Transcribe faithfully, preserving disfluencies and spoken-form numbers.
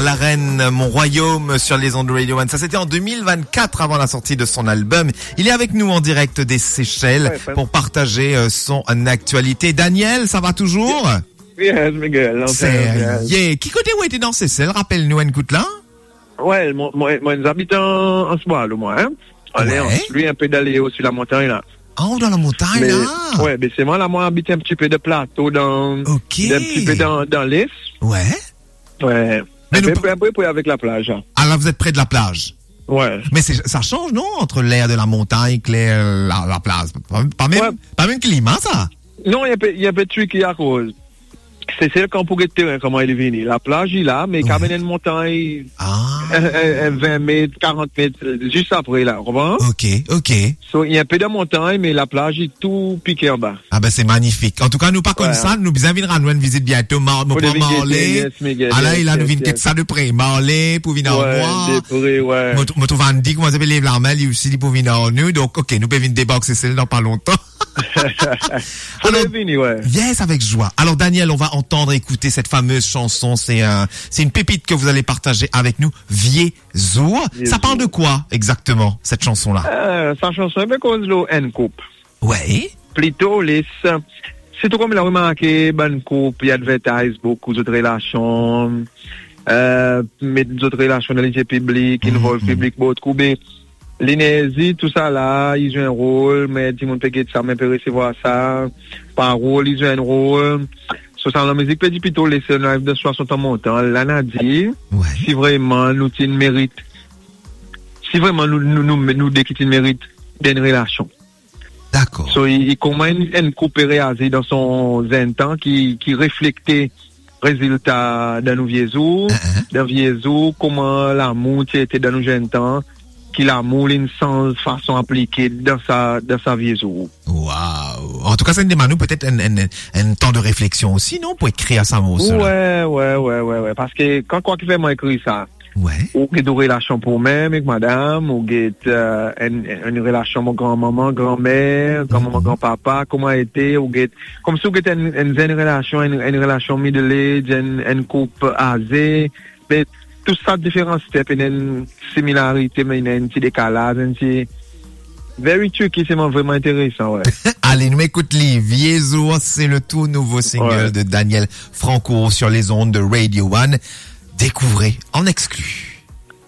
La reine, mon royaume sur les ondes de Radio One. Ça, c'était en deux mille vingt-quatre, avant la sortie de son album. Il est avec nous en direct des Seychelles Ouais, ouais. pour partager, euh, son actualité. Daniel, ça va toujours ? Yes, Miguel. Sérieux ? Ki kote ou ete dan Sesel ? Rapel nou enn kout la. Ouais, mwa, mwa, mwa, nou abit an, an Sbwalo, mwa, hein. Ale, Ouais. an, li, enpe dale osi lamontagn la. Ah, ou dan lamontagn la ? Ouais, be selman la, mwa abit enn ti pe dan plato, dan, Ok. enn ti pe dan, dan les. Ouais. Ouais. Me Enpe, nou enpe, enpe pre avek laplaz, hein. Ah, là, vous êtes près de la plage. Ouais. Mais c'est, ça change, non, entre l'air de la montagne, l'air, la, la plage. Pas, pas même, Ouais. pas même climat, ça. Non, li enpe, li enpe tricky akoz Sesel, kan pou get teren, kouma li vini. Laplaz li la, me li kapav Ouais. ena enn montagn, Ah. enn, enn, enn vin met, karant met, zis apre la, konpran? Ok, ok. So, li enpe dan montagn, me laplaz li tou pike anba. Ah ben, c'est magnifique. En tout cas, nou pa konn Ouais. sa, nou bizin vinn rann ou enn vizit biento, Mar-, mo Pou pran vinn gete, Marley. Yes, Miguel, Ala, yes, e la, nou yes, vinn get yes. sa de pre. Marley pou vinn ar Ouais, mwa. de pre, ouais. Mo tr-, mo trouv Andy, kouma li apel, lev lame, li osi, li pou vinn ar nou. Donk, ok, nou pe vinn debark Sesel dan pa lontan. Pou Alors, vini, ouais. Yes, avec joie. Alors, Daniel, on va entendre, écouter cette fameuse chanson. C'est un, c'est une pépite que vous allez partager avec nous, Vye Zour. Vye Ça parle de Zour. quoi exactement, cette chanson-là? Euh, sa chanson, li pe koz lor enn koup. Ouais. Plito, les, sirtou kouma nou remarke, bann koup, li advertise boukou zot relasion, euh, met zot relasion dan lizie piblik, Mhm, involve mhm. piblik boukou, be, lenerzi, tousala, li zwe enn rol, me dimoun pe get sa, me pe resevwar sa, parol, li zwe enn rol. So, sa lamizik pe dir plito, les, nou ariv dan swasant an montan, la nou dir, Ouais. si vreman nou ti merit, si vreman nou, nou, nou, nou de ki ti merit dan enn relasion. Dakor. So, li, li kouma enn, enn koup pe reazir dan son zenn tan ki, ki reflekte rezilta dan nou vie zour, Hein, hein. dan vie zour, kouma lamour ti ete dan nou zenn tan, ki lamour li inn sanz fason aplike dan sa, dan sa vie zour. Waw. An tou ka, sa inn demann nou petet enn, enn, enn tan de refleksion osi, non, pou ekrir sa morso la? Ouais, ouais, ouais, ouais, ouais. Paske kan, kwa ki fer mwa ekrir sa, Ouais. ou get ou relasion pou ou mem ek madam, ou get, euh, enn, enn relasion mo granmanman, granmer, granmanman, Mhm. granpapa, kouma ete, ou get, koumsi ou get enn, enn zenn relasion, enn, enn relasion middle age, enn, enn koup aze, be tou sa diferan step, ena enn similarite, me ena enn ti dekalaz, enn ti very tricky, se mwa vreman interesan, ouais. Ale, nou ekout li. Vye Zour, c'est le tout nouveau single Ouais. de Daniel Franco sur les ondes de Radio One. Découvrez en exclu.